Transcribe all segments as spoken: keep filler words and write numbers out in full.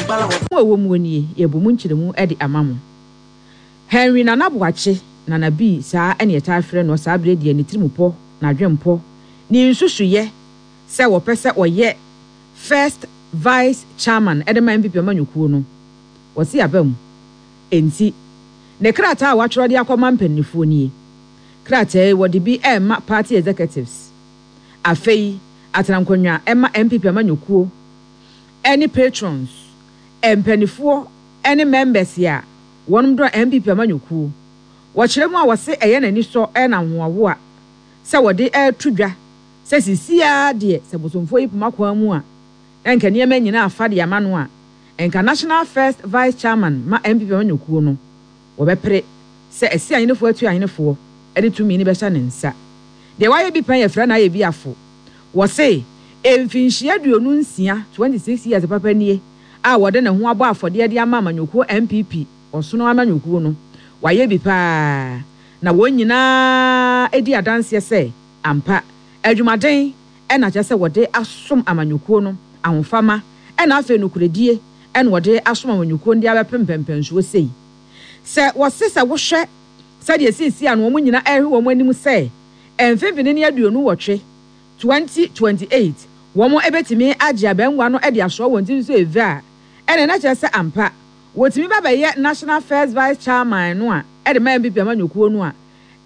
Mu a ɛwɔ mu nie, yɛbɔ mu nkyerɛmu de ama mo. Henry Nana Boakye, Nana B, saa ɛne yɛtaa frɛ no saa berɛ deɛ, ne tirimupɔ, n'adwempɔ, ne nsusuyɛ sɛ wɔpɛ sɛ ɔyɛ first vice chairman ɛde ma N P P amanyɔkuo no, wɔsi aba mu. Enti ne krataa a watwerɛ de akɔma mpanimfoɔ nie. Krataa yi, wɔde bi ɛrema party executives, afei atenankonnwa ɛma N P P amanyɔkuo ɛne patrons, mpanimfoɔ ɛne members a wɔn dɔ N P P amanyɔkuo. Wɔkyerɛ mu a, wɔse ɛyɛ n'ani sɔ ɛna ahoahoa sɛ wɔde ɛreto dwa sɛ sisiaa deɛ, sɛ bosomfoɔ yi poma kwan mu a, na nka nneɛma nyinaa afa de ama no a, nka national first vice chairman ma N P P amanyɔkuo no, wɔbɛpere sɛ ɛsi ahenefoɔ atu ahenefoɔ ɛde tumi no bɛhyɛ ne nsa. Deɛ wayɛ bi pɛn, yɛfrɛ no ayɛ bi afo. Wɔse mfinhyia aduonu nsia, twenty-six years papa nie a wɔde ne ho abɔ afɔdeɛ de ama amanyɔkuo N P P. Ɔsono amanyɔkuo no, wayɛ bi paa na wɔn nyinaa di adanseɛ sɛ ampa, adwumaden ɛna kyerɛ sɛ wɔde asom amanyɔkuo no, ahofama ɛna afei nokoredie ɛna wɔde asom amanyɔkuo no de abɛpem mpɛmpɛnsoɔ sei. Sɛ wɔse sɛ wohwɛ sɛdeɛ siisi a no, wɔn nyinaa ɛrehwɛ wɔn anim sɛ mfimfini ne aduonu wɔtwe, twenty twenty-eight, wɔn bɛtumi agye abɛnwa no de asoɔ wɔn ti nso eve a, ɛna ɛna kyerɛ sɛ ampa wɔtumi ba bɛyɛ national first vice chairman no a ɛde ma N P P amanyɔkuo no a,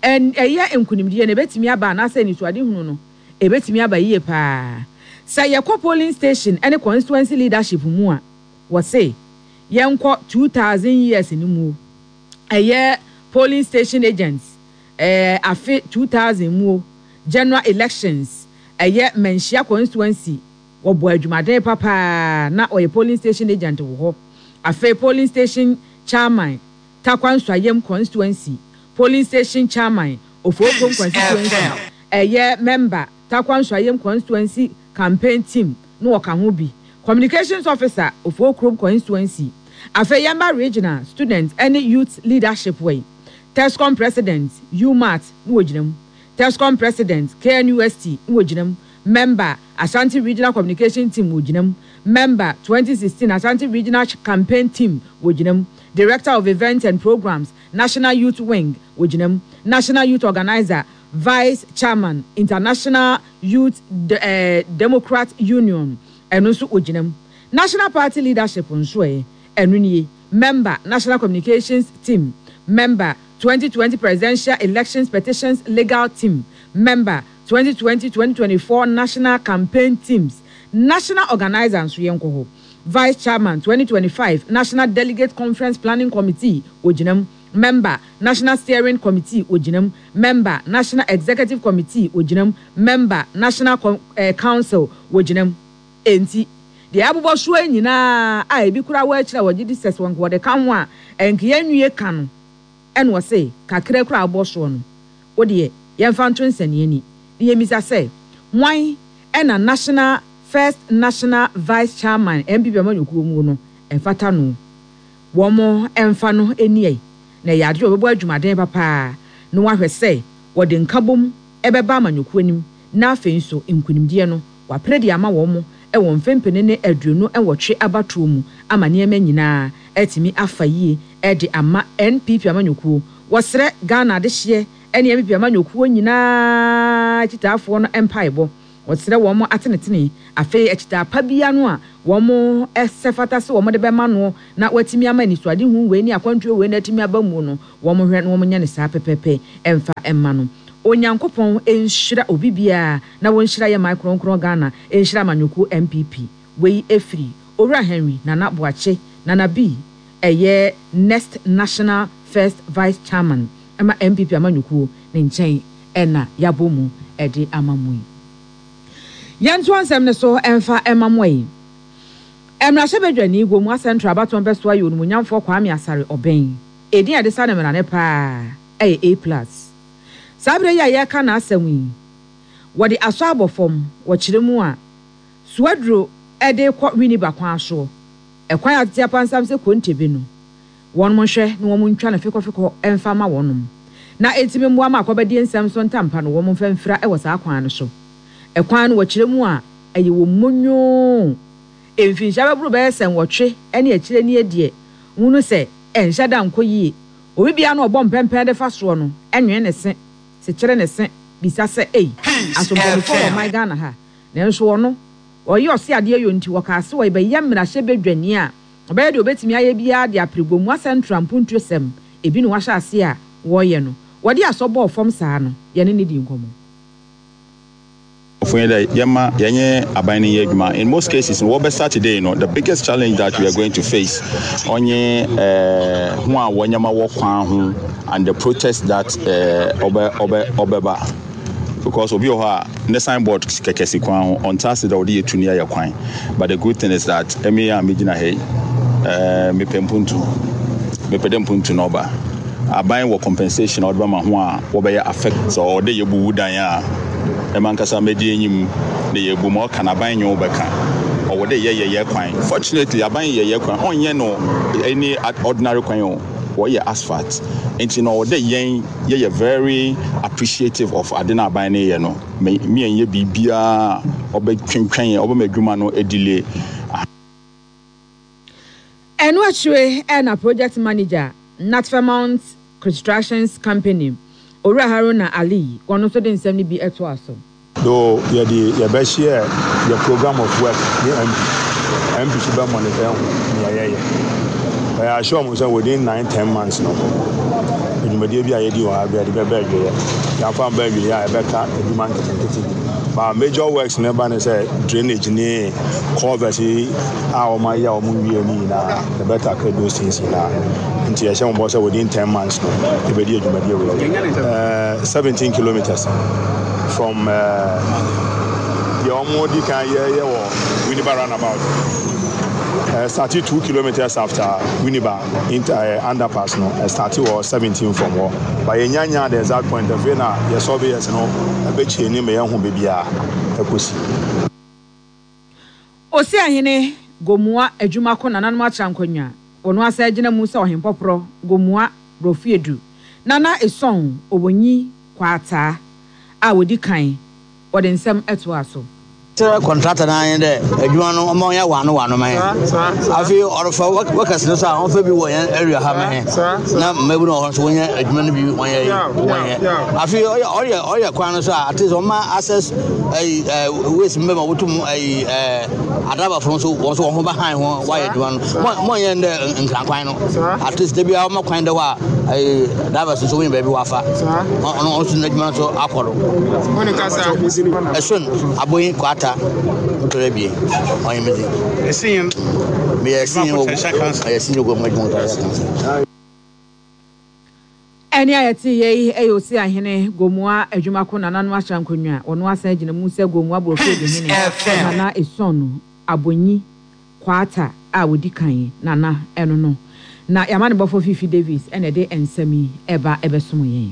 ɛyɛ nkunimdie na ebɛtumi aba anaasɛ nisuadehunu no ebɛtumi aba yie paa. Sɛ yɛkɔ polling station ɛne constituency leadership mu a, wɔse yɛnkɔ two thousand years no mu, ɛyɛ polling station agents, ɛɛ afe two thousand mu general elections, ɛyɛ Manhyia constituency, wɔbɔ adwumaden papaa na ɔyɛ polling station agent wɔ hɔ. Afei polling station chairman, Tarkwa Nsuaem constituency, polling station chairman, Ofookrom constituency, ɛyɛ member, Tarkwa Nsuaem constituency campaign team na wɔka ho bi, communications officer, Ofookrom constituency. Afei yɛmba regional student ɛne youth leadership wɔ yi, TESCON president, UMaT na wɔgyina mu, TESCON president, K N U S T na wɔgyina mu, member, Ashanti Regional Communication Team wɔgyina mu, member, twenty sixteen Ashanti Regional Campaign Team wɔgyina mu, director of events and programs, National Youth Wing wɔgyina mu, national youth organizer, vice chairman, International Youth De uh, Democrat Union, ɛno nso wɔgyina mu. National party leadership nso, ɛ ɛno nie: member, National Communications Team, member, twenty twenty presidential elections petitions legal team, member, twenty twenty-twenty twenty-four national campaign teams, national organizer nso yɛn kɔ hɔ, vice chairman, twenty twenty-five National Delegate Conference Planning Committee ogyina mu, member, National Steering Committee ogyina mu, member, National Executive Committee ogyina mu, member, National eh, Council ogyina mu. Enti deɛ abobɔ soɔ nyinaa a ebi kura wɔ akyire a wɔgye di sɛ wɔn wɔde ka ho a nkeɛ nwie ka no, ɛna wɔse kakra kura abɔ soɔ no, wodeɛ yɛmfa nto nsɛnniɛ ni ne yɛmisa sɛ hwan ɛna national first national vice chairman N P P amanyɔkuo mu no ɛmfata no, wɔn ɛmfa no ani na ɛyɛ adeɛ a wɔbɛbɔ adwumaden papaa na wɔahwɛ sɛ wɔde nkabom ɛbɛba amanyɔkuo anim, na afei nso nkunimdie no wapere de ama wɔn ɛwɔ mfempene ne aduonu nwɔtwe abatoɔ mu ama nneɛma nyinaa ɛtumi afa yie ɛde ama N P P amanyɔkuo. Wɔsrɛ Ghana adehyeɛ ɛne N P P amanyɔkuo nyinaa akyitaafoɔ no mpaebɔ. Wɔsrɛ wɔn atenetene, afei akyitaa pa bia no a wɔn ɛsɛ fata sɛ wɔn de bɛma no na wɔatumi ama anisoadehu wei ne akwantuo wei na atumi aba mu no, wɔn hwɛ na wɔn nyɛ ne saa pɛpɛpɛ ɛmfa ɛma no. Onyankopɔn nhyira obi biara na wɔnhyira yɛ man kronkron Ghana, nhyira amanyɔkuo N P P. Wei efiri Owura Henry Nana Boakye, Nana B, ɛyɛ next national first vice chairman ɛma N P P amanyɔkuo ne nkyɛn ɛna yabɔ mu ɛde ama mu yi. Yɛnto ansɛm ne so ɛmfa ɛma mo yi. Mmarahyɛbadwani Gomoa Central abatoɔ mpɛsoa yɛ Onimonyamfoɔ Kwame Asare Obeng, edin a yɛde sa ne mmerane paa ɛyɛ A Plus. Saa berɛ yi a yɛreka n'asɛm yi, wɔde asɔ abɔ fam. Wɔkyerɛ mu a, Swedru ɛde kɔ Winneba kwan soɔ, ɛkwan a tete apansam sɛ konte no, wɔn nhwɛ na wɔn ntwa no fikɔfikɔ ɛmfa ma wɔnom na etimi mmoa ma akɔbɛdie nsɛm so ntampa no, wɔn mfa mfira ɛwɔ saa kwan no so. Ɛkwan no, wɔkyerɛ mu a, ɛyɛ wɔn mmonyoo. Mfinhyia bɛboro bɛyɛ sɛ nwɔtwe ne akyire nie deɛ, hunu sɛ ɛnhyɛ da nkɔ yie. Obi biara na ɔbɔ mpɛmpɛn de fa soɔ no, ɛnwene ne se, sekyere ne se, bisa sɛ, ei, Peace aso mpanimfoɔ wɔ F M. ɔman Ghana ha? Nanso ɔno, ɔyɛ ɔse adeɛ yɔ nti, wɔkaa se wɔbɛyɛ mmarahyɛbadwani a ɔbɛyɛ deɛ obɛtumi ayɛ biara de apere Gomoa Central mpuntuo sɛm, ebi na wahyɛ ase a wɔreyɛ no. Wɔde asɔ bɔɔ fam saa no, yɛne ne di nkɔmmɔ. Fún yẹn dɛ yɛma yɛnyɛ aban no yɛ adwuma. In most cases no, wɔbɛ start today no, the biggest challenge that we are going to face ɔnye ɛɛ ho a wɔnyɛma wɔ kwan ho and the protest that ɛɛ ɔbɛ ɔbɛ ɔbɛba, because obi wɔ hɔ a ne signboard kɛkɛ si kwan ho, ɔnta ase dɛ ɔde yɛ tu ne ayɛ kwan. But the good thing is that ɛmi a mi gyina ha yi, ɛɛ mepɛ mpuntu, mepɛ dɛ mpuntu na ɔba aban wɔ compensation a ɔde bɛma ho a wɔbɛyɛ affect. Sɛ ɔde yɛ buwu dan a ɛma nkasa mɛdi enyim na yɛ bu ma ɔka n'aban nyɛ ɔbɛka ɔwɔ dɛ yɛ yɛ yɛ kwan. Fortunately, aban yɛ yɛ kwan, ɔnyɛ no any ordinary kwan o, wɔyɛ asphalt, nti na ɔwɔ dɛ yɛn yɛyɛ very appreciative of ade na aban no yɛ no. Mɛ miɛn yɛ biribiara ɔbɛtwentwɛn yɛn, ɔbɛma adwuma no delay. Ɛno akyire ɛna project manager, Natfemount Constructions Company, Owura Haruna Ali, wɔn nso de nsɛm no bi ɛto aso. Though yɛde yɛbɛhyɛ yɛ program of work ne M P M P so bɛ monitor ho nea yɛyɛ. Ɛyɛ ahyɛ ɔmo sɛ within nine ten months no, dwumadie bi a yɛdi wɔ ha bi a yɛde bɛbɛ awieɛ, yɛamfa mba awieɛ a, yɛbɛka adwuma nketenkete bi. But major works ne ba ne sɛ drainage ne culvert yi a wɔn ayɛ a wɔn wie ne nyinaa, yɛbɛ tackle those things nyinaa. Nti yɛhyɛ wɔn bɔ sɛ within ten months no, yɛbɛdi adwumadie wɔ yɛ seventeen kilometres from deɛ wɔn di kan yɛyɛ wɔ Winneba roundabout, uh, started two kilometers after Winneba inter, uh, underpass no, uh, started wɔ seventeen from hɔ, but yɛnya nya the exact point. Afei na yɛ surveyors no ɛbɛkyie ne ma yɛn ho baabi a ɛkɔsi. Osi ahene Gomoa Adwumako nananom atra nkonnwa, wɔn asa gyina mu sɛ ɔhempɔporɔ Gomoa Borɔfo Nana Eson Obonyi Kwataa a wɔdi kan, wɔde nsɛm ɛto aso. Sɛ contractor no ayɛ dɛ adwuma no ɔma ɔnyɛ wano wano ma yɛn. Afei ɔrefa workers no so a, ɔmfa bi wɔ yɛn area ha ma yɛn na mmabu no wɔ hɔ nso wɔnyɛ adwuma no bi wɔnyɛ wɔnyɛ. Afei ɔyɛ ɔyɛ ɔyɛ kwan no so a, at least ɔma access ɛyi ɛɛ ways mbɛ ma wotum ɛyi ɛɛ adrabafo no nso wɔn nso wɔn ho ba han ho wɔayɛ adwuma no. Mɔ mɔnyɛ ndɛ nkrankwan no, at least debi a ɔma kwan dɛ hɔ a ɛyi drivers nso wɔnyɛ baabi wɔafa ɔno ɔnso n'adwuma nso akɔ do. Ɛson Aboyin Kwata ntɔrɔ ebien ɔyɛ mi di. Ɛsin. Meyɛ ɛsin wɔ ɛyɛ ɛsin wɔ mu adwuma ntɔrɔ kansa. Ɛne a yɛte yɛ yi ɛyɛ Osi ahene Gomoa Adwumako nananom ahyɛ nkonnwa, wɔn asan gyina mu sɛ Gomoa Borɔfo Eduhene Nana Eson Abonyi Kwata a wɔdi kan nana ɛno no na yɛama ne bɔfo Fifi Davis ɛna ɛde nsɛm yi ɛba ɛbɛsom yɛn.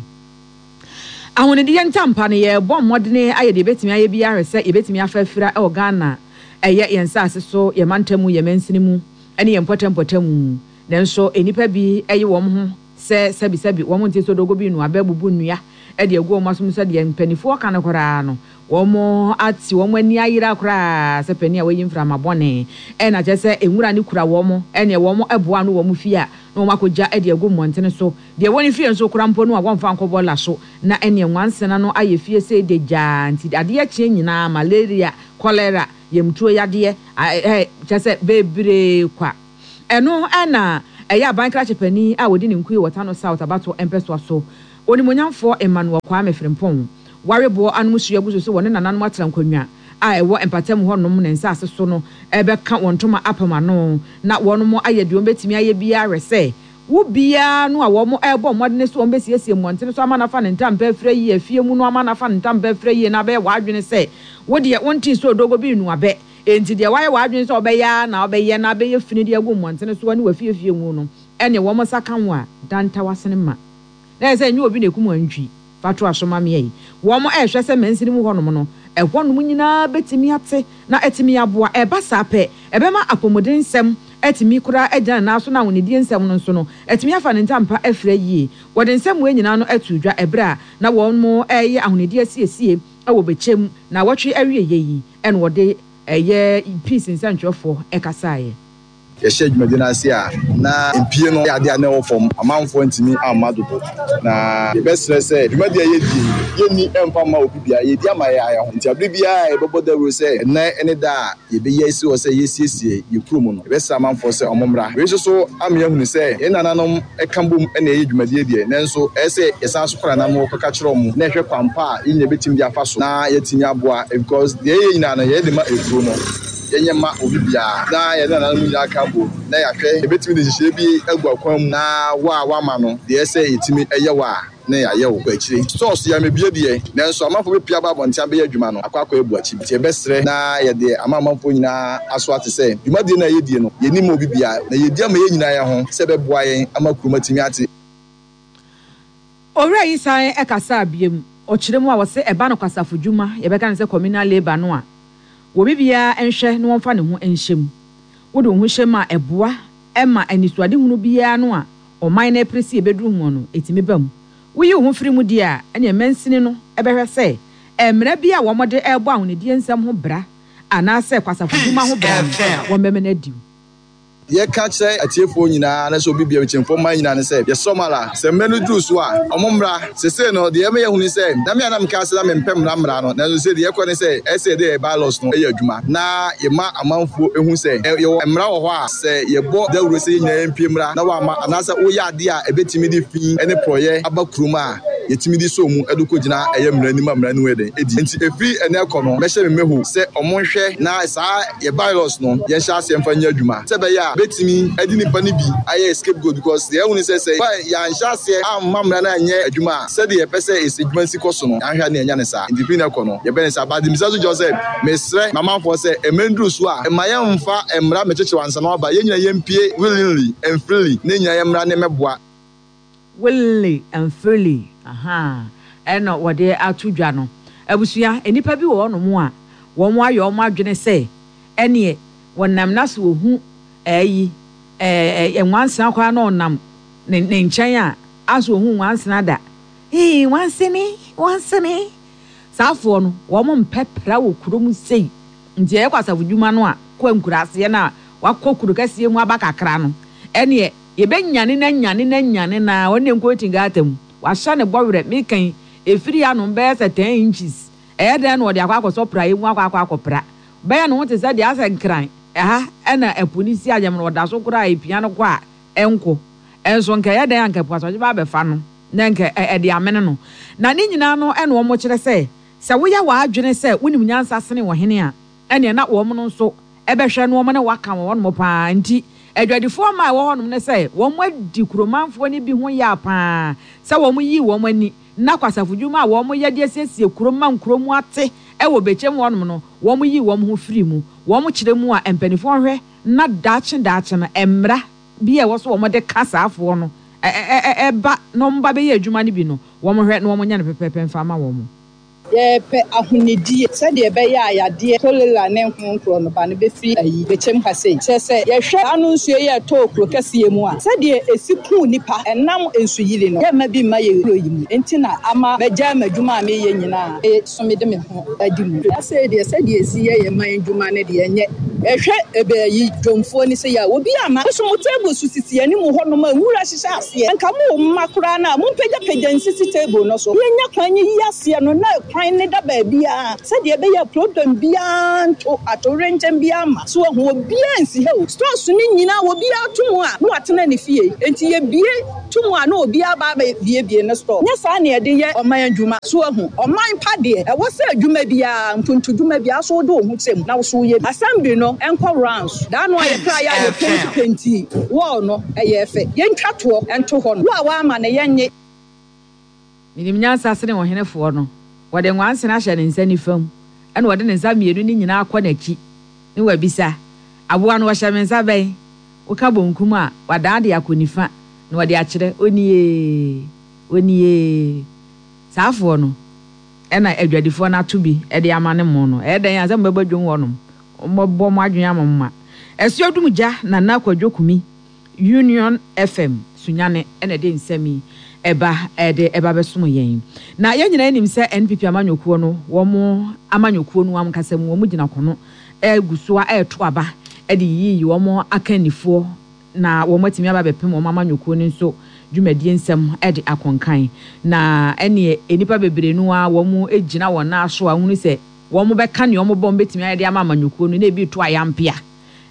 Ahonidie ntampa no, yɛbɔ mmɔdene ayɛ deɛ yɛbɛtumi ayɛ biara sɛ yɛbɛtumi afa afira ɛwɔ Ghana, ɛyɛ yɛn nsaase so, yɛn mantam mu, yɛn mansini mu ɛne yɛn mpɔtam mu. Nanso nnipa bi ɛyɛ wɔn ho sɛ sɛbisɛbi wɔn nti so dogo bi no abɛbubu nnua ɛde agu wɔn asom sɛ deɛ mpanimfoɔ ka no koraa no, wɔn ate wɔn ani ayera koraa sɛ panin a wɔyi mframa bɔne ɛna kyerɛ sɛ nwura ne kura wɔn, ɛne wɔn ɛboa no wɔn fie a na wɔn akɔgya ɛde agu mmɔntene so. Deɛ wɔn fie nso kora mpo no a wɔmfa nkɔ bɔɔla so na ɛne nwansena no ayɛ fie sɛ de gyaa. Nti adeɛ kyeɛ nyinaa, malaria, cholera, yɛmtuo yadeɛ ɛɛ kyerɛ sɛ bebree kwa. Ɛno ɛna ɛyɛ aban krakye panin a wɔdi ne nkue wɔ Tano South abato mpɛsoa so, Onimonyamfoɔ Emmanuel Kwame Frimpong, wareboɔ anom sua gu so sɛ wɔne nananom atena nkonnwa a ɛwɔ mpatam hɔnom ne nsaase so no ɛbɛka wɔn ntoma apam ano na wɔn ayɛ deɛ wɔn bɛtumi ayɛ biara sɛ wo biara no a wɔn ɛrebɔ mmɔden so wɔn bɛsiesie mmɔntene so ama nafa ne ntampa afira yie, afie mu no ama nafa ne ntampa afira yie, na abɛyɛ w'adwene sɛ wo deɛ wonte so odogo bi nnuabɛ. Enti deɛ wayɛ w'adwene sɛ ɔbɛyɛ na ɔbɛyɛ na abɛyɛ fini de agu mmɔntene so ne wafiefie mu no, ɛne wɔn nsa ka ho a danta wasene ma na ɛsɛ nyɛ obi na ekum antwi fato asomamea yi. Wɔn ɛrehwɛ sɛ mansini mu hɔnom no, ɛhɔnom nyinaa bɛtumi ate na ɛtumi aboa. Ɛba saa pɛ, ɛbɛma apɔmuden nsɛm ɛtumi koraa agyina ne nan so na ahonidie nsɛm no nso no ɛtumi afa ne ntampa afira yie. Wɔde nsɛm wei nyinaa no ato dwa ɛberɛ a na wɔn mo ɛreyɛ ahonidie asiesie ɛwɔ Bɛkyɛm na wɔtwe awie yɛ yi, ɛna wɔde Ɛyɛ Peace nsɛntwerɛfoɔ ɛkasaeɛ. Yɛhyɛ dwumadi no ase a, na mpie no yɛ adeɛ a na ɛwɔ fam, amanfoɔ ntumi amma dodo, na yɛbɛsrɛ sɛ dwumadi a yɛdi yɛnni ɛmfa mma obi bia, yɛdi ama yɛ ayɛ ho. Nti abere biara a yɛbɛbɔ dawuro sɛ ɛnnɛ ne da a yɛbɛyi asi hɔ sɛ yɛsiesie yɛ kurom no, yɛbɛsrɛ amanfoɔ sɛ ɔmo mmra. Wei nso so ama yɛahunu sɛ yɛn nananom ɛka bom na ɛyɛ dwumadie deɛ, nanso ɛyɛ sɛ yɛsan so kɔ nananom kɔka kyerɛ ɔmo na ɛhwɛ kwan pa a yɛn nyinaa bɛtumi de afa so na yɛatumi aboa, because deɛ yɛyɛ nyinaa no, yɛyɛ de ma ekuro no, yɛnyɛ ma obi biara, na yɛne nananom nyinaa ka bom na yɛahwɛ yɛbɛtumi de nhyehyɛeɛ bi agu akwan mu na wo a woama no deɛ ɛsɛ yɛtumi ɛyɛ wo a na yɛayɛ wo kɔ akyire. Stores yɛ mebie deɛ, nanso amanfoɔ bɛpia aba abɔnten abɛyɛ adwuma no akɔ akɔ abu akyi, nti yɛbɛsrɛ na yɛde ama amanfoɔ nyinaa aso ate sɛ dwumadie no a yɛdie no, yɛnim obi biara, na yɛdi ama yɛn nyinaa yɛn ho sɛ ɛbɛboa yɛn ama kurom atumi ate. Owura yi san ɛkasa abiem, ɔkyerɛ mu a wɔsɛ ɛba no kwasafo dwuma, yɛbɛka no sɛ communal labour no a, wɔbi biara nhwɛ na wɔmfa ne ho nhyɛ mu. Wode wo ho hyɛ mu a, ɛboa ɛma anisoadehunu biara no a ɔman no apere sɛ yɛbɛduru ho no, ɛtumi ba mu. Woyi wo ho firi mu deɛ a, ɛneɛ mansini no ɛbɛhwɛ sɛ mmerɛ bi a wɔde ɛrebɔ ahonidie nsɛm ho bra anaasɛ kwasafo dwuma ho bra no, wɔmmɛmɛ no adi. Yɛka kyerɛ atiefoɔ nyinaa ne sɛ obi bia kyɛmfoɔ man nyinaa ne sɛ yɛsɔ mala sɛ mmerɛ no duru so a, ɔmo mmra. Sesei no deɛ ɛmɛyɛ hu ne sɛ na me a na meka sɛ na mempɛ mmara mmara no, nanso sɛ deɛ ɛkɔ ne sɛ ɛsɛ yɛde yɛ bylaws no ɛyɛ adwuma na yɛma amanfoɔ ehu sɛ yɛwɔ mmara wɔ hɔ a sɛ yɛbɔ dawuro sɛ yɛn nyinaa yɛmpie mmra na wama, anaasɛ woyɛ adeɛ a ɛbɛtumi de fi ne porɔyɛ aba kurom a, yɛtumi de so mu ɛde kɔgyina ɛyɛ mmara anim a mmara no yɛ den ɛdi. Nti ɛfiri ɛnɛ kɔ no, mɛhyɛ me mmeho sɛ ɔmo nhwɛ na saa yɛ bylaws no yɛnhyɛ aseɛ mfa nyɛ adwuma sɛ ɛbɛyɛ a bɛtumi ɛde nipa no bi ayɛ scapegoat, because deɛ ɛhu ne sɛ sɛ yɛanhyɛ aseɛ amma mmara no anyɛ adwuma a, sɛdeɛ yɛpɛ sɛ ɛsɛ adwuma nsi kɔ so no, yɛanhwɛ ne yɛnya ne saa. Nti firi no kɔ no, yɛbɛ ne saa. But misa so kyerɛ sɛ mesrɛ mamanfoɔ sɛ ɛmɛnduru so a, ɛma yɛmfa mmara mɛkyekyere ansa na waba. Yɛn nyinaa yɛmpie willingly and freely ne nyinaa yɛmmra ne mɛboa. Willingly and freely, aha, ɛna wɔde ato dwa no. Abusua, nnipa bi wɔ hɔnom a wɔn ayɛ wɔn adwene sɛ ɛneɛ wɔnam na so wɔhu ɛyi ɛɛ nwansena koraa na ɔnam ne ne nkyɛn a aso ohun nwansena da ee nwansene nwansene. Saafoɔ no, wɔn mpɛ pra wɔ kurom sei, nti ɛyɛ kɔ asafo dwuma no a kɔ nkuraaseɛ no a wakɔ kuro kɛseɛ mu aba kakra no, ɛneɛ yɛbɛnyane na nyane na nyane na ɔne nkɔɔti gaata mu wahyɛ ne bɔwerɛ mekan efiri anom bɛyɛ sɛ ten inches. Ɛyɛ dɛn na ɔde akɔ akɔsɔ pra mu akɔ akɔ akɔpra bɛyɛ ne ho te sɛ deɛ asɛ nkran ɛha ɛna ɛpo ne si agyam no, ɔda so koraa epia no kɔ a ɛnko ɛnso nka ɛyɛ dɛn anka ɛpo asɔgye ba abɛfa no na nka ɛde amene no. Na ne nyinaa no, ɛna wɔn kyerɛ sɛ sɛ woyɛ w'adwene sɛ wonim nyansa sene ɔhene a, ɛneɛ na wɔn no nso ɛbɛhwɛ no wɔn ne waka wɔ hɔnom paa. Nti adwadifoɔ mmaa a ɛwɔ hɔnom no sɛ wɔn adi kuromanfoɔ no bi ho yɛ paa sɛ wɔn yi wɔn ani na kwasafo dwuma a wɔn yɛ de asiesie kurom ma nkurom ate ɛwɔ Bɛkyɛm hɔnom no, wɔn yi wɔn ho firi mu. Wɔn kyerɛ mu a, mpanimfoɔ hwɛ na daakye daakye no, mmara bi a ɛwɔ so wɔn de ka saafoɔ no ɛba na wɔn ba bɛyɛ adwuma no bi no, wɔn hwɛ na wɔn nyɛ no pɛpɛɛpɛ mfa ama wɔn. Yɛpɛ ahonidie sɛdeɛ ɛbɛyɛ a yadeɛ cholera ne ho nkorɔ no ba no bɛfiri ayi Bɛkyɛm ha sei. Kyerɛ sɛ yɛhwɛ ano nsuo yi a ɛtɔɔ kuro kɛseɛ mu a, sɛdeɛ ɛsi kuu nipa ɛnam nsuyiri no, yɛmma bi mma yɛ kuro yi mu. Nti na ama mɛgyae m'adwuma a meyɛ nyinaa so mede me ho adi mu. Asɛ deɛ sɛdeɛ ɛsi yɛ yɛ man dwuma no deɛ, ɛnyɛ ɛhwɛ ɛbɛ yi dwomfoɔ ni sɛ yɛ a obi ama so mo table so sisi anim hɔnom a nwura hyehyɛ aseɛ, nka mo mma koraa no a mompagyapagya nsisi table no so, yɛnya kwan yi aseɛ no na kwan ne da baabiara sɛdeɛ ɛbɛyɛ problem biara nto atowerɛnkyɛm biara ma so ahu. Obiara nsi ha o, stores no nyinaa obiara to mu a na watena ne fie, nti yɛbie to mu a na obiara ba abɛbiebie ne store. Nyɛ saa ne yɛde yɛ ɔman adwuma so ahu. Ɔman pa deɛ, ɛwɔ sɛ adwuma biara, mpuntudwuma biara so, wode wo ho kyɛ mu na wo so woyɛ bi. Assembly no ɛnkɔ rounds daa no a yɛkra yɛ a yɛ paint paint wall no, ɛyɛ fɛ, yɛntwa toɔ ɛnto hɔ no, wo a woama ne yɛnye. Menim nyansa sene ɔhenefoɔ no. Wɔde nwansena ahyɛ ne nsa nifa mu, ɛna wɔde ne nsa mmienu no nyinaa akɔ n'akyi ne wabisa aboa no, wɔhyɛ me nsa bɛn? Woka bonkum a, wadan de akɔ nifa na wɔde akyerɛ onie onie. Saafoɔ no ɛna adwadifoɔ no ato bi ɛde ama ne mo no. Ɛyɛ dɛn a sɛ mobɛbɔ dwom hɔnom, mobɛbɔ mo adwene ama mo ma ɛsoɔ dum gya. Nana Kwadwo Kumi, Union F M Sunyane, ɛna ɛde nsɛm yi ɛba ɛde ɛba bɛsom yɛn. Na yɛn nyinaa nim sɛ N P P amanyɔkuo no, wɔn amanyɔkuo no ankasa mu, wɔn gyina kono Egu so a ɛreto aba de yiyi wɔn akannifoɔ na wɔn atumi aba abɛpem wɔn amanyɔkuo no nso dwumadie nsɛm de akɔnkan. Na ɛneɛ nnipa bebree no ara wɔn gyina wɔn nan so a wɔhunu sɛ wɔn bɛka nea wɔn bɔ wɔn bɛtumi ayɛ de ama amanyɔkuo no na ebi reto ayampea.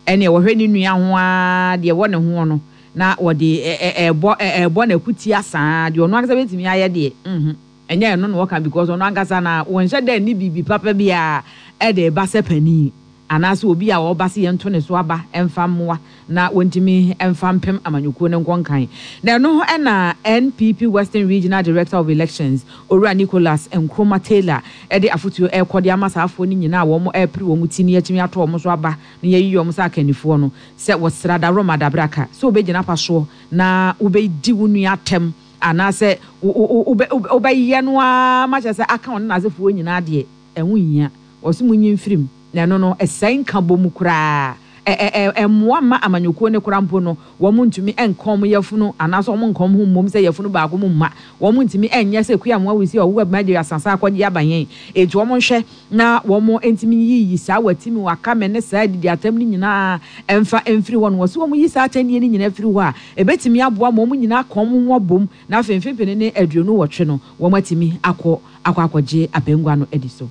Ɛneɛ wɔhwɛ ne nua ho ara deɛ ɛwɔ ne ho no na wɔde ɛrebɔ ɛrebɔ n'akutia saa deɛ ɔno ankasa bɛtumi ayɛ deɛ mhm ɛnyɛ ɛno na wɔka because ɔno ankasa na wɔnhyɛ da nni biribi papa biara ɛde ba sɛ panin anaasɛ obi a ɔba sɛ yɛnto ne so aba mfa mmoa na wɔntumi mfa mpem amanyɔkuo no nkɔ nkan. Na ɛno na N P P Western Regional Director of Elections, Owura Nicholas Nkrumah Taylor, de afotuo ɛrekɔ de ama saafoɔ no nyinaa a wɔn ɛrepere wɔn ti ne yɛatumi ato wɔn so aba na yɛayiyi wɔn sɛ akannifoɔ no sɛ wɔsra Daroma Dabraka sɛ wobɛgyina pa soɔ na wobɛdi wo nua atɛm anaasɛ wobɛyɛ no ara ma kyerɛ sɛ aka ɔne n'asefoɔ nyinaa deɛ, ɛho nhia. Wɔse monyi mfirim na ɛno no ɛsɛe nkabom mu koraa. Ɛmmoa mma amanyɔkuo no koraa mpo no, wɔn ntumi nka wɔn yafunu anaasɛ wɔn nka wɔn ho mmom sɛ yafunu baako mu mma. Wɔn ntumi nyɛ sɛ kuya mmoa wusi a ɔwɔ abɛma asasa akɔgye aba yɛn. Enti wɔn nhwɛ na wɔn ntumi yiyi saa watimi wakame ne saa adidi atam no nyinaa mfa mfiri hɔ no. Wɔse wɔn yi saa atɛnnie no nyinaa firi hɔ a, ɛbɛtumi aboa ma wɔn nyinaa ka wɔn ho abom na afei mfempene ne aduonu wɔtwe no, wɔn atumi akɔ akɔ akɔgye apengua no adi so.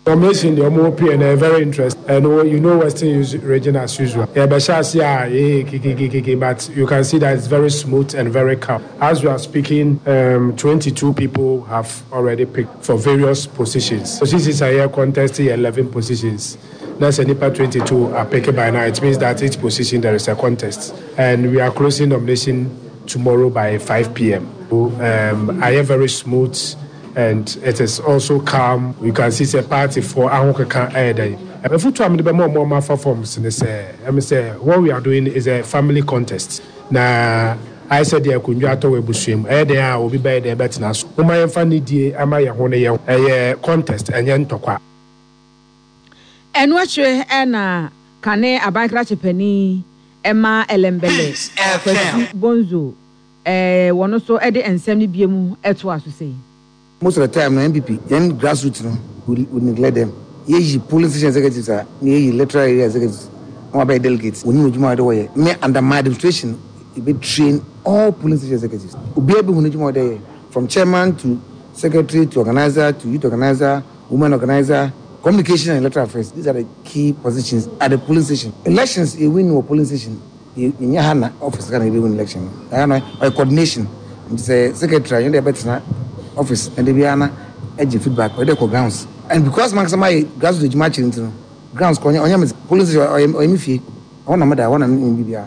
Nomination the Omo and very interesting. And you know Western region as usual. Yeah, but you can see that it's very smooth and very calm. As we are speaking, um, twenty-two people have already picked for various positions. Positions are here contesting eleven positions. That's a nipa twenty-two are picked by now. It means that each position there is a contest. And we are closing nomination tomorrow by five p m. So, um, I am very smooth and it is also calm. You can see sɛ party foɔ ahokeka ɛyɛ dɛ. Afotu a mede bɛma ɔmo ɔmo afa forms ne sɛ ɛmi sɛ what we are doing is a family contest na ayɛ sɛ deɛ akonnwa atɔ wɔ abusua mu ɛyɛ deɛ a obi bɛyɛ deɛ ɛbɛtena so. Mo ma yɛmfa ne die ama yɛn ho ne yɛn ɛyɛ contest, ɛnyɛ ntɔkwa. Ɛno akyire ɛna kane aban krakye panin ɛma Ellembelle, Kwasi Bonzo, ɛɛ wɔn nso ɛde nsɛm no bie mu ɛto aso sɛ. Most of the time no, N P P yɛn grassroots no, we, we neglect them. Yɛyi polling station executives a na yɛyi electoral area executives na wabɛyɛ delegates, wɔnyim adwuma a wɔde wɔyɛ. Me, under my administration, yɛbɛ train all polling station executives. Obiara bɛhu n'adwuma a wɔde yɛ, from chairman to secretary to organizer to youth organizer, women organizer, communication and electoral affairs. These are the key positions at the polling station. Elections, yɛ win wɔ polling station, yɛnyɛ ha na office ka na yɛbɛ win election ɛha no, ɔyɛ coordination. Nti sɛ secretary a yɛn de ɛbɛtena office ɛde biara na ɛgye feedback, ɔde kɔ grounds. And because mankasa ma yɛ grassroots adwuma akyere nti no, grounds kɔ ɔnyɛ ɔnyɛ me polling station, ɔyɛ ɔyɛ me fie, ɛhɔ na meda, ɛhɔ na me biara.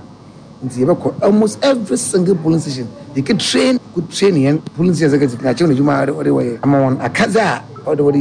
Nti yɛbɛkɔ almost every single polling station, yɛkɛ train ko train yɛn polling station executive na akyerɛ wɔn adwuma a ɔde wɔyɛ ama wɔn akadze a ɔde wɔde.